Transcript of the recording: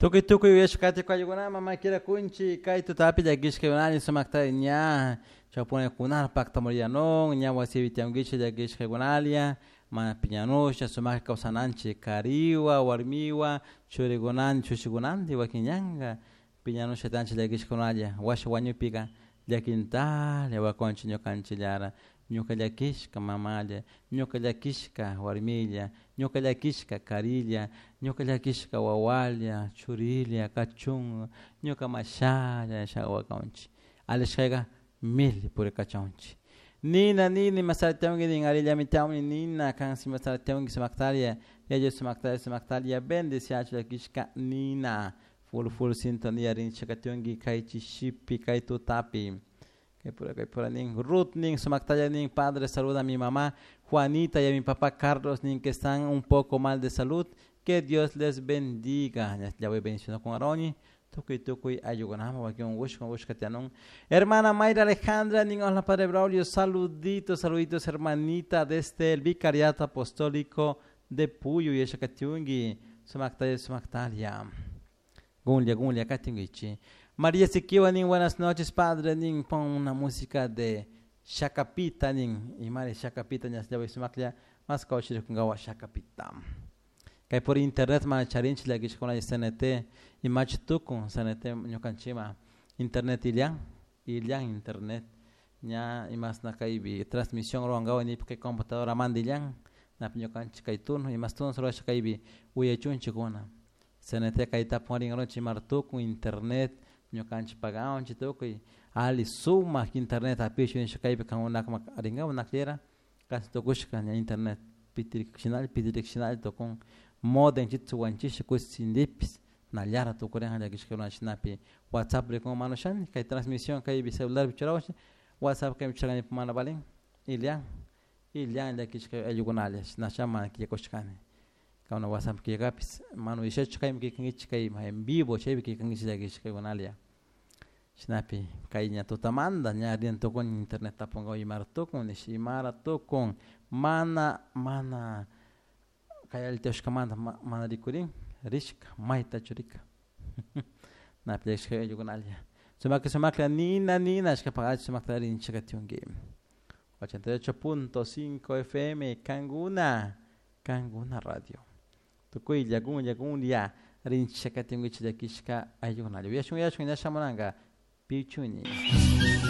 Tukuy tukuy uyashkati kaykunaman makira kunchi kay tutapi llakishkaykunalla sumakta ña chawpunakuna paktamuriyanun ña wasipi tiyankichik llakishkaykunalla mana piñanusha sumakta kawsananchik kariwa warmiwa churikunan chushikunantin wakin ñanka piñanusha tiyanchik llakishkakunalla washa wañupika llakintalla wakunchik ñukanchikllara ñuka llakishka mamalla ñuka llakishka warmilla ñuka llakishka karilla ñuka llakishka wawalla churilla kachun ñuka mashalla nisha wakunchik alishkayka mil purikachunchik nina nini imasara tiyanki nin arillami tiyawni nina kan imasara tiyanki sumaktalla yaya sumaktalla sumaktalla bendeciachu llakishka nina full full sintonía rinchik tiyanki kay chishipi kay tutapi kay pura nin Ruth nin sumaktalla nin padre saluda a mi mamá Juanita y a mi papá Carlos nin que están un poco mal de salud que Dios les bendiga ya voy bendiciendo con Aroni tukuy tukuy ayllukunaman wakin unkushka unkushka tiyanun hermana Mayra Alejandra nin hola padre Braulio saluditos saluditos hermanita desde el vicariato apostólico de Puyo yachakatiunki sumaktalla sumaktalla gunlla gunlla katinkichik María Siquiwa nin buenas noches padre nin pon una música de Shakapita nin imari Shakapita ña sumaklla mas kawchirikunkawa Shakapita kay por internet mana charinchik llakishkuna CNT imachi tukun CNT ñukanchikman internet illan illan internet ña imasna kaypi transmisión ruwankawa nipik kay computadoramanta illan napi ñukanchik kay turno imas turno rurasha kaypi uyachunchikuna CNT kay tapurin runchik imara tukun internet ñukanchik paganchik tukuy alli sumak internet hapishun nisha kaypi kankunaka rinkapak nakllera casi tukushka ña internet pitirik shinalla pitirik shinalla tukun modem chita wanchisha kushindipis nallara tukurinja llakishkakuna shinapi WhatsApp rikun mana ushani kay transmisión kaypi celularpi churawanchik WhatsApp kaypi churani mana valin illan illan llakishka ayllukunalla shinasha mana killakushkani kankuna WhatsApp killakapis mana uyashachu kaymi killkankichik kay en vivo chaypi killkankichik llakishkakunalla shinapi kay ña tutamanta ña rina tukuni internet tapunkapak imara tukun nish imara tukun mana mana kay alli tiyashkamanta mana rikurin rishka maytachu rika napi llakishka ayllukunalla sumaklla sumaklla nina nina ashkapak sumakta rinchik katiunki 88.5 FM Kanguna Kanguna Radio tukuylla gunlla gunlla rinchik katinkichik llakishka ayllukunalla uyashun uyashun ña shamunanka pichuni.